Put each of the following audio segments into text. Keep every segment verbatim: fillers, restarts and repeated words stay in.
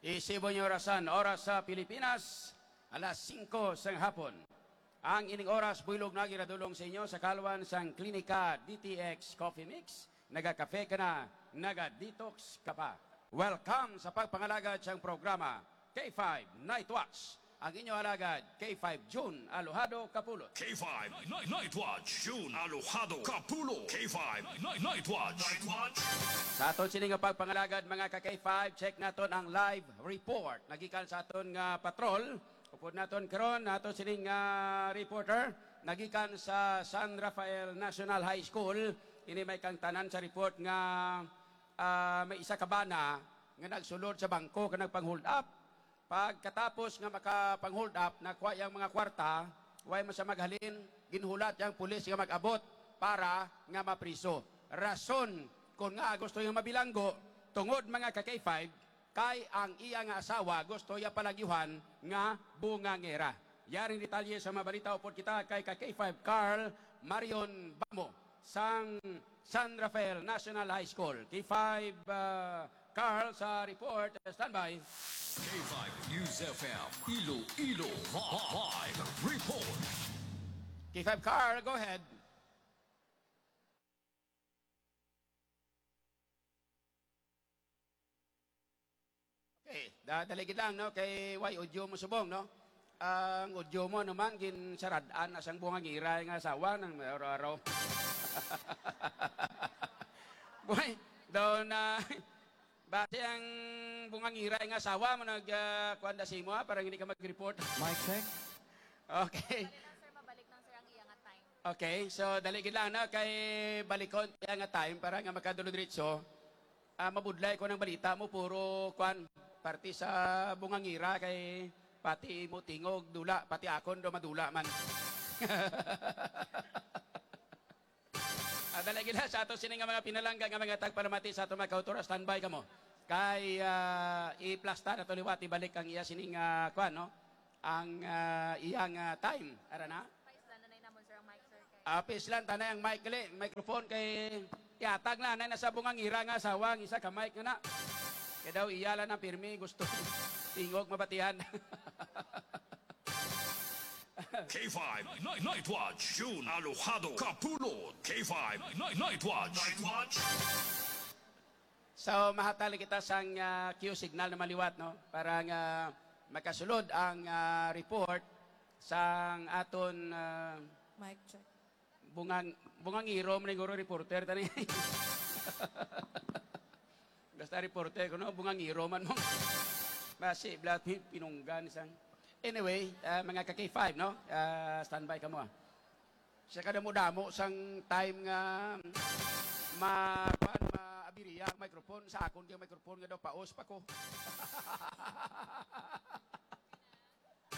Isibo niyo orasan, oras sa Pilipinas, alas singko sang hapon. Ang ining oras, buylog na ginadulong sa inyo sa kalwan sang Klinika D T X Coffee Mix. Nagakafe ka na, naga-detox ka pa. Welcome sa pagpangalagad sang programa K five Night Watch. Ang inyo alagad, K five June Alojado Kapulot. K five Night, Night Watch, June Alojado Kapulot. K five Night, Night Watch. Night Watch. Sa aton sini nga pagpangalagad, mga ka K five, check naton ang live report nagikan sa aton nga patrol. Upod naton karon, aton sining, ah, reporter nagikan sa San Rafael National High School. Ini may kangtanan sa report nga, ah, may isa ka bana nga nagsulod sa bangko kag nagpang-hold up. Pagkatapos nga makapang-hold up, nakuha iyang mga kwarta, way man siya maghalin, ginhulat iyang pulis nga mag-abot para nga mapriso. Rason kon ngaa gusto niya mabilanggo, tungod, mga ka K five, kay ang iya nga asawa gusto iya palagyuhan nga bungangera. Yaring detalye sa mga balita upod kita kay ka K five Carl Marion Bamo sang San Rafael National High School. K five, uh, Carl sa report. Standby. K five News F M, Iloilo, live report. K five Carl, go ahead. Okay, da-, dali gid lang, no? Kay way audio mo subong, no? Ang audio mo naman, ginsarad-an na sang bungangiray nga asawa nang araw-araw. Boy, daw na, basi ang bungangiray nga asawa mo nag, ah, kuwan da sa imo, ha, para hindi ka mag-report. Mic check. Okay. Dali lang, sir, mabalik lang, sir, ang iya nga time. Okay, so dali gid lang, no? Kay balikon iya nga time para nga makadulod-diretso. Ah, mabudlay ko ng balita mo, puro, kwan, parte sa bungangira kay pati mo tingog, dula, pati akon do madula man. Ah, dali gila sa ato sini nga mga pinalangga nga mga tagpalamati sa ato mga kautora, standby kamo. Kay, ah, i-plasta na to liwat, ibalik ang iya sining, ah, kwan, no? Ang, ah, iyang, ah, time. Ara na? Paislan na namon, sir, ang mic, sir, kay Ah, paislan, tanay ang mic, gali, microphone kay ihatag na, anay na sa bungangira nga asawa, ang isa ka mic nga na. Kay daw iya lang ang pirmi, gusto. Tingog, mabatihan. K five Night, Night Watch, June Alojado Kapulot. K five Night, Night Watch. Night Watch. So, mahatag kita sang, ah, cue signal na maliwat, no? Para nga makasulod ang, ah, report sang aton, ah, Mic check. Bungang-, bungangiro man siguro reporter tani. Basta reporter ko, no? Bungangiro man mo. Basi, blat, pinunggan sang. Anyway, ah, mga ka K five, no? Ah, standby kamo, ah. Siya ka damo-damo sang time nga ma-, kuwan, maabiriya ang microphone. Sa akon kay microphone nga daw paos pa ko.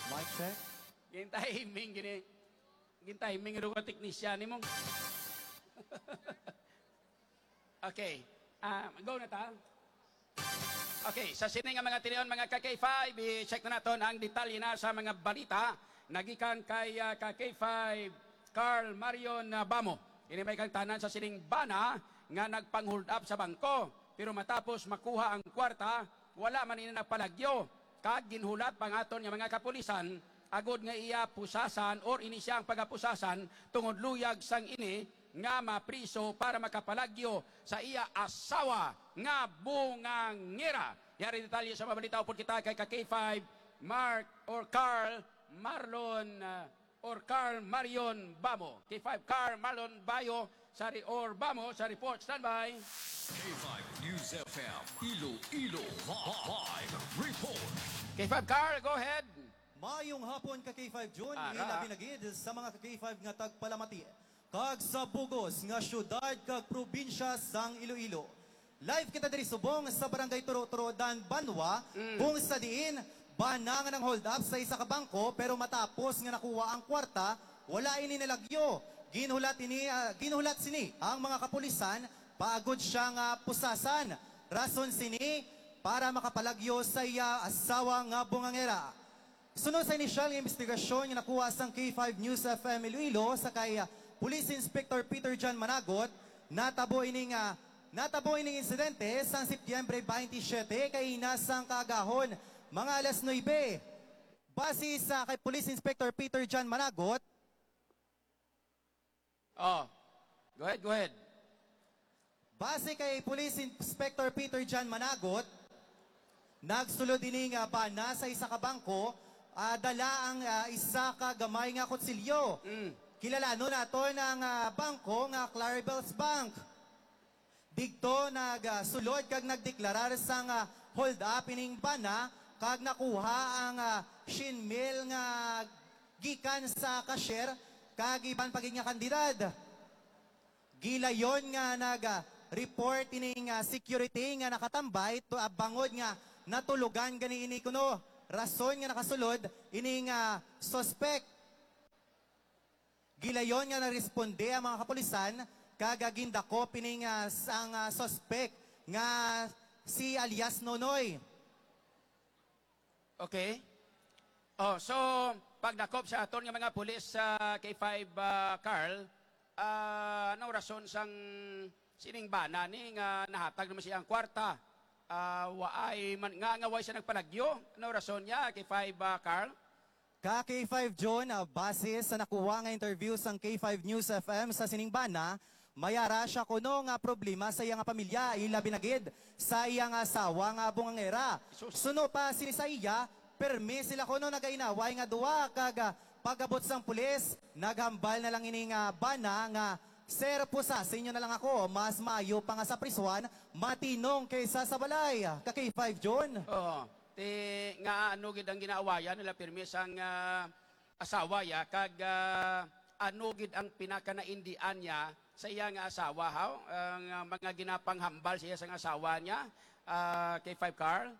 Mic check. Gintiming gini. Gintiming ro ka teknisyan nimo. Okay. Ah, go na ta. Okay, sa sini nga mga tinion, mga ka K five, i-check na naton ang detalye na sa mga balita nagikan kay, ah, ka K five Carl Marion, ah, Bamo. Ini may kangtanan sa sining bana nga nagpang-hold up sa bangko, pero matapos makuha ang kwarta, wala man ini nagpalagyo, kag ginhulat pa ang aton nga mga kapulisan agod nga iya pusasan or ini siya ang pagapusasan tungod luyag sang ini nga mapriso para makapalagyo sa iya asawa nga bungangera. Yari detalye sa mga balita upod kita kay ka K five Mark or Carl Marlon, uh, or Carl Marion Bamo. K five Carl Marlon Bayo sa re-, or Bamo sa report. Standby. K five News F M, Iloilo, live report. K five Carl, go ahead. Maayong hapon ka K five June, Ara. Ilabi na gid sa mga ka K five nga tagpalamati kag sa bugos nga syudad kag probinsya sang Iloilo. Live kita diri subong sa Barangay Turo-Turodan, Banwa, Mm. kung sa diin bana nga nang-hold up sa isa ka bangko, pero matapos nga nakuha ang kwarta, wala ini nalagyo. Ginhulat ini, ah, ginhulat sini ang mga kapulisan paagod siya nga pusasan. Rason sini para makapalagyo sa iya asawa nga bungangera. Sunod sa inisyal nga imbestigasyon nga nakuha sang K five News F M Iloilo sa kay, ah, Police Inspector Peter John Managot, natabo ini nga Natabo ining insidente sang Setyembre twenty-seven, kaina sang kaagahon, mga alas nuebe. Base sa kay Police Inspector Peter John Managot, Oh, go ahead, go ahead. Base kay Police Inspector Peter John Managot, nagsulod ini nga bana sa isa ka bangko, ah, dala ang, ah, isa ka gamay nga kutsilyo. Mm. Kilalanon naton ang, ah, bangko nga Clarabelle's Bank. Digto nagsulod kag nagdeklarar sang, ah, hold up ining bana kag nakuha ang, ah, syen mil nga gikan sa cashier kag iban pa gid nga kantidad. Gilayon nga nag-report ining, ah, security nga nakatambay to, ah, bangod nga natulugan gani ini kuno rason nga nakasulod ining, ah, suspect. Gilayon nga naresponde ang mga kapulisan kag, ah, gindakop ining, ah, sang, ah, suspect nga si alias Nonoy. Okay. Oh, so pagdakop sa aton nga mga pulis sa K five, ah, Carl, ah, anong rason sang sining bana ni nga nahatag naman siya ang kwarta? Ah, waay man nga, nga way siya nagpalagyo. Anong rason niya, K five, ah, Carl? Ka K five June, ah, base sa nakuha nga interview sang K five News F M sa sining bana, may ara siya kuno nga problema sa iya nga pamilya, ilabi na gid sa iya nga asawa nga bungangera. Sus. Suno pa sini sa iya, permi sila kuno nagainaway nga duha kag, ah, pag-abot sang pulis, naghambal na lang ini nga bana nga, "Sir, pusasin niyo na lang ako, mas maayo pa nga sa prisuhan, matinong kaysa sa balay." Ka K five June. Oo. Ti nga ano gid ang ginaawayan nila pirmi sang, ah, asawa ya, kag, ah, ano gid ang pinakanaindian niya sa iya nga asawa, haw? Ang, ah, mga ginapanghambal sa iya sang asawa niya, ah, K five Carl?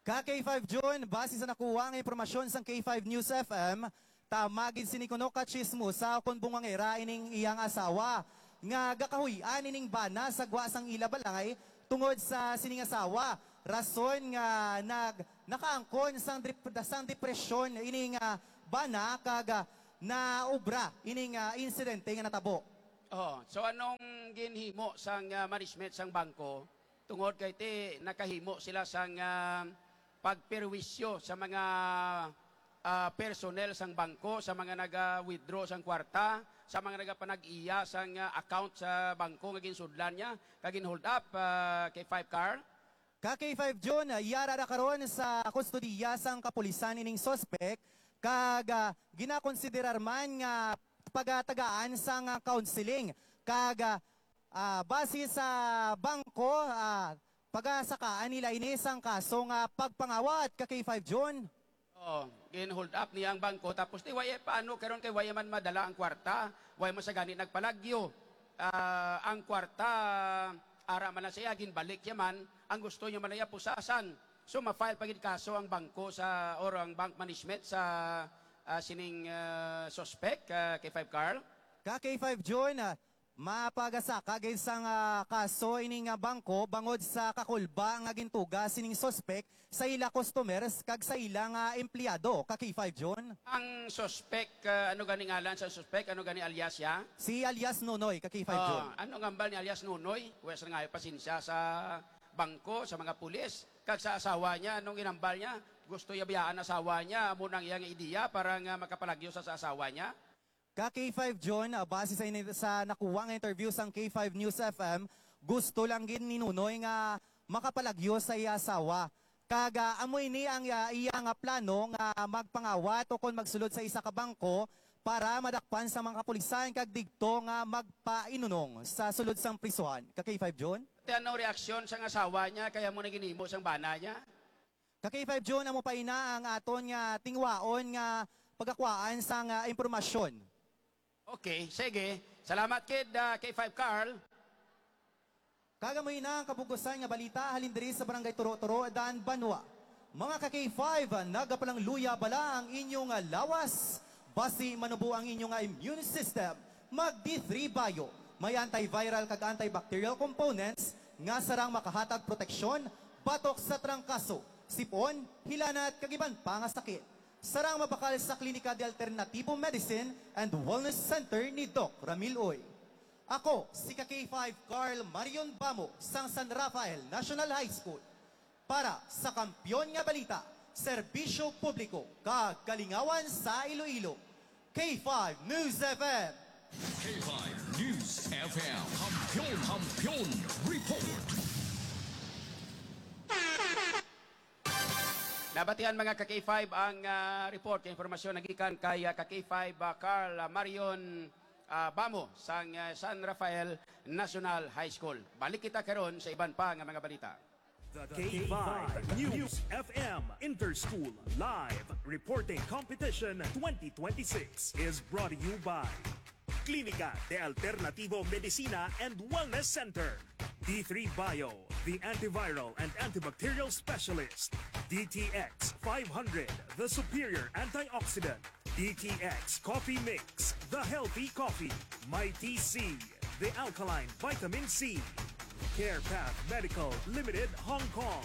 Ka K five June, base sa nakuha nga impormasyon sang K five News F M, tama gid sini kuno ka tsismosa kon bungangera ining iyang asawa nga gakahuy-an ining bana sa gwa sang ila balay tungod sa sining asawa, rason nga nag-, nakaangkon sang drip-, sang depresyon ining, ah, bana kag, ah, naobra ining, ah, insidente nga natabo. Oh, so anong ginhimo sang, ah, management sang bangko? Tungod kay ti nakahimo sila sang, ah, pagperwisyo sa mga, ah, personnel sang bangko, sa mga naga-withdraw sang kwarta, sa mga nagapanag-iya sang, ah, account sa bangko nga ginsudlan niya kag gin-hold up, ah, K five Carl. Ka K five June, ah, yara na karon sa kustodiya sang kapulisan ining suspek kag, ah, ginakonsiderar man nga pagatagaan sang, ah, counseling kag, ah, Ah, base sa bangko, ah, pagasakaan nila ini sang kaso nga pagpangawat ka K five June. Oo, gin-hold up niya ang bangko, tapos ti waya paano karon kay waya man madala ang kwarta, waya man sa gani nagpalagyo. Ah, ang kwarta, ara man lang siya, ginbalik niya man, ang gusto niya man niya pusasan. So, ma-file pa gid kaso ang bangko sa, or ang bank management sa, ah, sining, ah, suspect, ah, K five Carl? Ka K five June, ah, Mapagasaka gid sang, ah, kaso ini nga bangko bangod sa kakulba nga gintuga sining suspek sa ila customers kag sa ila nga empleyado ka K five June. Ang suspek, ah, ano gani ngalan sa suspek? Ano gani alias ya? Si alias Nonoy ka K five June. Ah, ano nga hambal ni alias Nonoy? Wes nga pasensya sa bangko, sa mga pulis, kag sa asawa niya, anong ginambal niya? Gusto niya biyaan asawa niya, amo nang iyang ideya para nga makapalagyo sa, sa asawa niya? Ka K five June, ah, base sa ini-, sa nakuha nga interview sang K five News F M, gusto lang gid ni Nunoy nga makapalagyo sa iya asawa. Kag, ah, amo ini ang, ah, iya nga plano nga magpangawat o kon magsulod sa isa ka bangko para madakpan sa mga kapulisan kag digto nga magpainunong sa sulod sang prisuhan. Ka K five June? Ti ano reaksyon sang asawa niya kaya mo na ginimo sang bana niya? Ka K five June, amo pa ina ang aton nga tingwaon nga pagakuhaan sang, ah, impormasyon. Okay, sige. Salamat kid, ah, K five Carl. Kag amo ina ang kabugusan nga balita halin diri sa Barangay Turo-Turo, Dan Banwa. Mga ka K five, nagapalangluya bala ang inyong, ah, lawas? Basi manubo ang inyong, ah, immune system. Mag D three Bio. May antiviral kag antibacterial components nga sarang makahatag proteksyon batok sa trangkaso, sipon, hilanat, kag iban pa nga sakit. Sarang mabakal sa Klinika de Alternativo Medicine and Wellness Center ni Doc Ramil Uy. Ako si ka K five Carl Marion Bamo sang San Rafael National High School. Para sa Kampiyon nga Balita, Serbisyo Publiko, kag Kalingawan sa Iloilo, K five News F M. K five News F M. Kampiyon, Kampiyon Report. Nabatian, mga ka K five, ang ah, report kay impormasyon nagikan kay ah, ka K five ah, Carl ah, Marion ah, Bamo sang ah, San Rafael National High School. Balik kita karon sa iban pa nga mga balita. The K five News F M Interschool Live Reporting Competition twenty twenty-six is brought to you by Clínica de Alternativo Medicina and Wellness Center, D three Bio, the antiviral and antibacterial specialist, D T X five hundred, the superior antioxidant, D T X Coffee Mix, the healthy coffee, Mighty C, the alkaline vitamin C, Care Path Medical Limited, Hong Kong.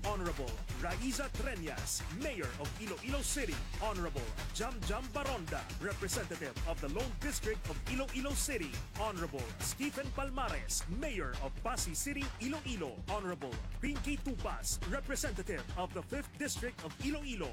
Honorable Raiza Treñas, Mayor of Iloilo City. Honorable Jam Jam Baronda, Representative of the Lone District of Iloilo City. Honorable Stephen Palmares, Mayor of Passi City, Iloilo. Honorable Pinky Tupas, Representative of the Fifth District of Iloilo.